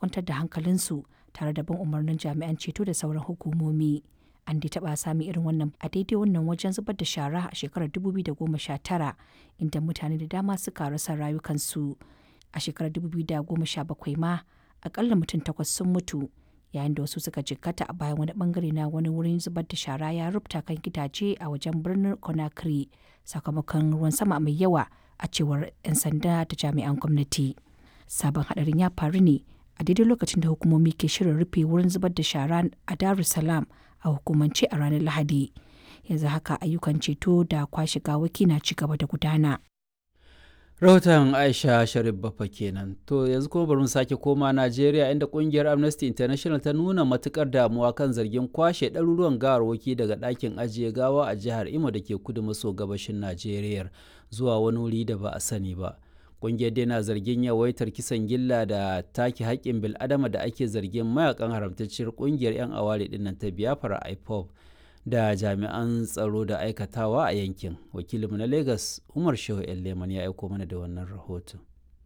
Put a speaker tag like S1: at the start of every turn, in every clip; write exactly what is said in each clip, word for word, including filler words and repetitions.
S1: kwantar da hankalinsu tare da bin umarnin jami'an ceto da sauran hukumomi. An dai taɓa sami irin wannan a daidai wannan wajen zubar da shara a shekarar dubu biyu da goma sha tara, inda mutane da dama suka rasa rayukansu. A shekarar dubu biyu da goma sha bakwai ma, akalla mutum takwas sun mutu yayin da wasu suka jikkata a bayan wani bangare na wani wurin zubar da shara ya rubta kan gidaje a wajen birnin Conakry sakamakon ruwan sama mai yawa, a cewar 'yan sanda da jami'an gwamnati. Sabon hadarin ya faru ne a daidai lokacin da hukumomi ke shirin rufe wurin zubar da shara a Dar es Salaam a hukumance a ranar Lahadi. Yanzu haka ayyukan ceto da kwashe gawaki na ci gaba da gudana.
S2: Rahoton Aisha Sharif Bafa kenan. To, yanzu kuma bari mu sake koma Najeriya, inda kungiyar Amnesty International ta nuna matukar damuwa kan zargin kwashe ɗaruruwan gawarwaki daga ɗakin ajiye gawa a jihar Imo da ke kudu maso gabashin Najeriya zuwa wani wuri da ba a sani ba. Kungiyar dai na zargin yawaitar kisan gilla da take haƙƙin bil'adama da ake zargin mayakan haramtacciyar kungiyar 'yan aware dinnan ta Biafra IPOB da jami'an tsaro da aikatawa a yankin. Wakilinmu na Lagos, Umar Shehu Leman, ya aiko mana da wannan rahoton.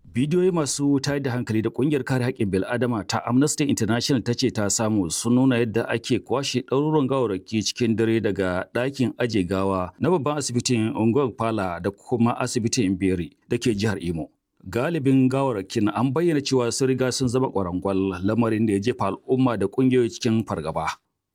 S3: Bidiyoyi masu tayar da hankali da kungiyar kare haƙƙin bil'adama ta Amnesty International ta ce ta samu sun nuna yadda ake kwashe ɗaruruwan gawarraki cikin dare daga ɗakin aje gawa na babban asibitin Unguwar Pala da kuma asibitin Beri da ke jihar Imo. Galibin gawarrakin an bayyana cewa sun riga sun zama ƙwarangwal, lamarin da ya jefa al'umma da ƙungiyoyi cikin fargaba.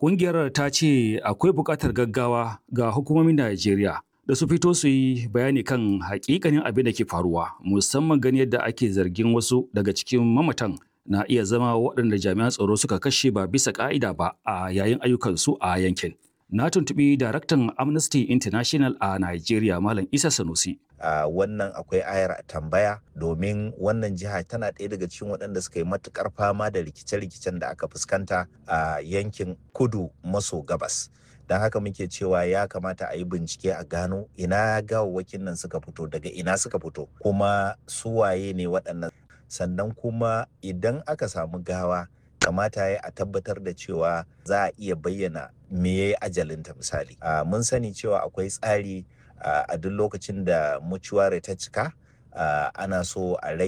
S3: Ƙungiyar ta ce akwai buƙatar gaggawa ga hukumomin Najeriya da su fito su yi bayani kan hakikanin abin da ke faruwa, musamman gani yadda ake zargin wasu daga cikin mamatan na iya zama waɗanda jami'an tsaro suka kashe ba bisa ƙa'ida ba a yayin ayyukansu a yankin. Na tuntuɓi daraktan Amnesty International a Nigeria, Malam Isa Sanusi.
S4: Uh, wannan akwai ayar tambaya, domin wannan jiha tana ɗaya daga cikin waɗanda suka yi matuƙar fama da rikice-rikicen da aka fuskanta a uh, yankin kudu maso gabas. Don haka muke cewa ya kamata a yi bincike a gano ina gawawwakin nan suka fito, daga ina suka fito, kuma su waye ne waɗannan. Sannan kuma idan aka samu gawa, kamata ya a tabbatar da cewa za a iya bayyana me ya yi ajalinta. Misali, uh, mun sani cewa akwai tsari Uh, a duk lokacin da mucuware ta cika, uh, ana so a rage